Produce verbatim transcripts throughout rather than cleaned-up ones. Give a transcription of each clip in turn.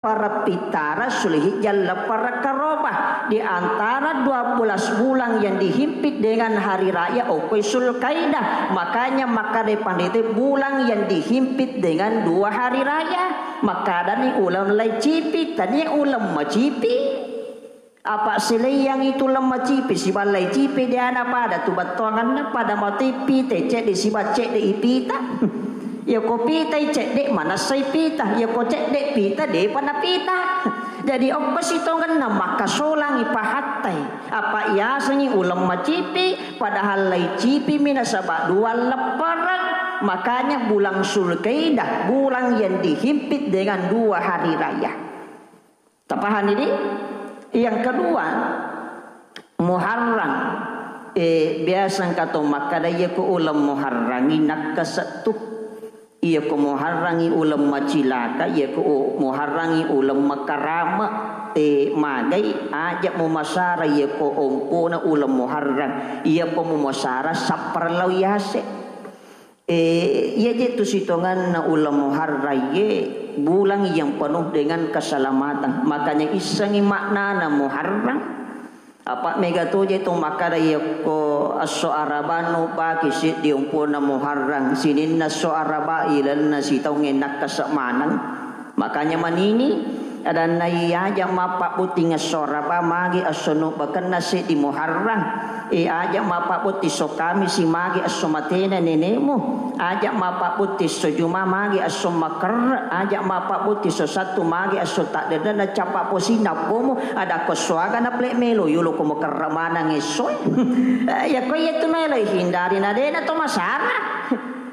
Leppereng Pittara, Zulhijjah, leppereng Karobah. Di antara dua belas bulan yang dihimpit dengan hari raya, okkoi Zulkaidah. Makanya makkadai pandita, bulan yang dihimpit dengan dua hari raya. Makkadani uleng laicipi, tania uleng macipi. Apa sileiyangngi tu uleng macipi sibawa laicipi, deana pada tu bettuanganna, pada mati pita cedde sibawa cedde ipita. Yako pitai cedde, manessai pita. Yako cedde pita, depa napita. Jadi okko sitongenna makkasolangi pahattai. Apa yasengngi uleng macipi, padahal laicipi mi nasaba dua leppereng. Makanya bulan Zulkaidah, bulan yang dihimpit dengan dua hari raya. Tapahani di? Yang kedua, Muharram. Eh, biasa engka to makkada, iya ko uleng Muharrangi nakkasa tu. Iya ko Muharrangi uleng macilaka, iya ko u-, Muharrangi uleng makarama. Eh, magai aja mumasara iya ko ompona uleng Muharram. Iya ko mumasara sapparlau yase. Eh, iya je tu sitonganna uleng Muharram ye, bulan yang penuh dengan keselamatan. Makanya issengi maknana Muharram. Apa mega to je tu makkada, yakko esso Araba nu baki siddi umpona Muharram, sininna esso Araba ilenna sitaungnge nakkasa maneng. Makanya manini, adanna, iya aja mappabbotting esso Araba magi esso nubbakenna seddi Muharram. Eh, aja mappabbotting esso Kamisi magi esso matena nenemu. Aja mappabbotting esso Juma magi esso makerre. Aja mappabbotting esso Sattu magi esso taddenna cappa posinna pomu. Ada ko esso aga na plek melo yolo ko makerre maneng esso. Eh, ya ko iya tu melo hindari na dena to masalah.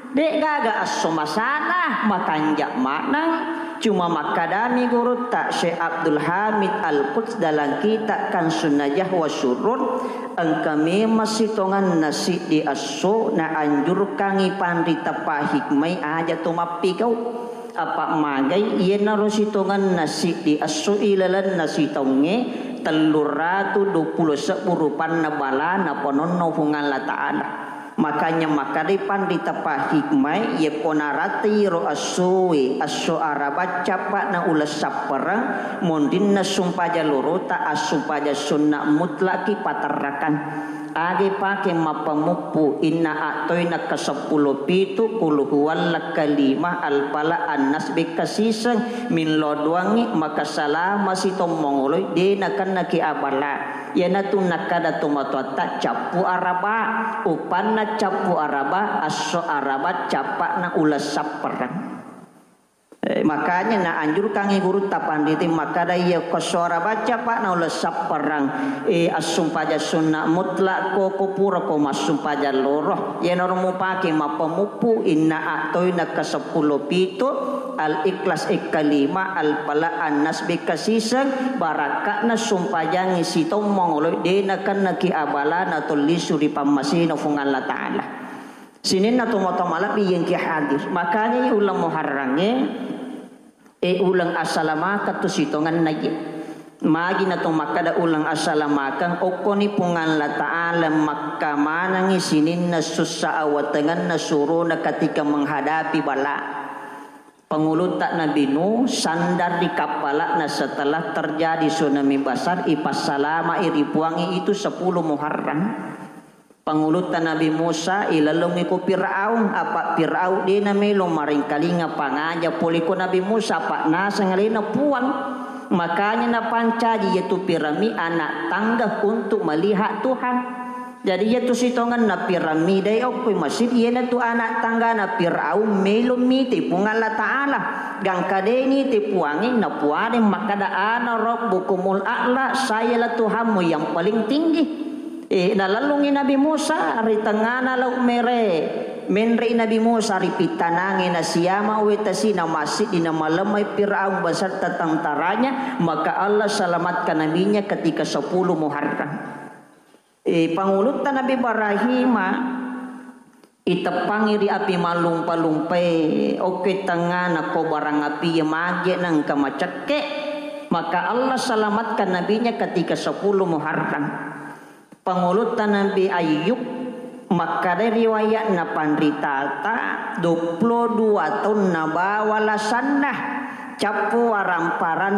De'gaga esso masalah, makanja maneng, cuma makkadami gurutta Syekh Abdul Hamid Al-Quds dalam kitab Kansun Najah wa Surur, engka memang sitonganna siddi esso naanjurkangi panrita pahikmai aja to mappigau. Apa magai iyanaro sitonganna siddi esso ilalenna sitaungnge telluratu duappulo sebbu rupanna bala napanonno Puang Allah Ta'ala. Makanya makkadai panrita pahikmai, yekko naratai ro essoe, esso Araba cappa'na uleng sappereng, monrinna sumpajang lorota, assumpajang sunna mutlaki paterrakan. Age pake mappamuppu, inna attoina keseppulo pitu, qul huwallah kalima, al-falaq, an-nas, bekkasiseng, millau doangngi, maka salama sitommongoloi, de nakennaki abala. Iyanatu nakkada tomatoatta, cappu Araba. Upanna cappu Araba, esso Araba cappa'na uleng sappereng. Eh, makanya naanjurkangi gurutta panrita makkada, iya ko esso Araba cappa'na uleng sappereng, eh, assumpajang sunna mutlak ko, ko pura ko massumpajang loro. Iyanaro mupake mappamuppu, inna attoina keseppulo pitu, Al-Ikhlas ekkalima, Al-Falaq, An-Nas bekkasiseng, barakka'na sumpajangngi sitommongoloi, de nakennaki abala natollisu ri pammasena Fuang Allah Ta'ala. Sininna tomatoa malebbi yengki hadir. Makanya uleng Muharrangnge, e, uleng assalamakeng tu sitongenna ye. Magi nato makkada uleng assalamakeng, okkoni Puang Allah Ta'ala makkamanengngi sininna sussa awatengenna surona ketika menghadapi bala. Pangulutta Nabi Nuh sandar ri kappala'na setelah terjadi tsunami besar, ipassalama'i ri Puangnge itu sepuluh Muharram. Pangulutta Nabi Musa ilalungngi ko Firaun, apa Firaun de namelo marengkalinga pangaja pole ko Nabi Musa, apa naseng alena Puang. Makanya napancaji iyatu Firaun mi anak tangga untuk melihat Tuhan. Jadi iyatu sitongenna Firaun mi dai okkoi masjid, iyanatu anak tanggana Firaun melo mite Puang Allah Ta'ala. Gangka de nite Puangnge, napuadeng makkada, "Ana rabbukumul a'la, sayalah Tuhanmu yang paling tinggi." Eh, nalellungngi Nabi Musa ri tengngana Laut Mere. Menre'i Nabi Musa ri pittanangnge, nasiama we tasina massiddi, namalemmai Firaun beserta tentaranya, maka Allah selamatkan nabinya ketika sepuluh Muharram. Eh, pangulutta Nabi Ibrahima iteppangi ri api mallumpa-lumpae, okke tengngana ko barang api mage nengka macekke, maka Allah selamatkan nabinya ketika sepuluh Muharram. Pangulutta Nabi Ayyub, makkada riwayatna panritata, duappulo dua taunna bawa lasanna. Cappu waramparanna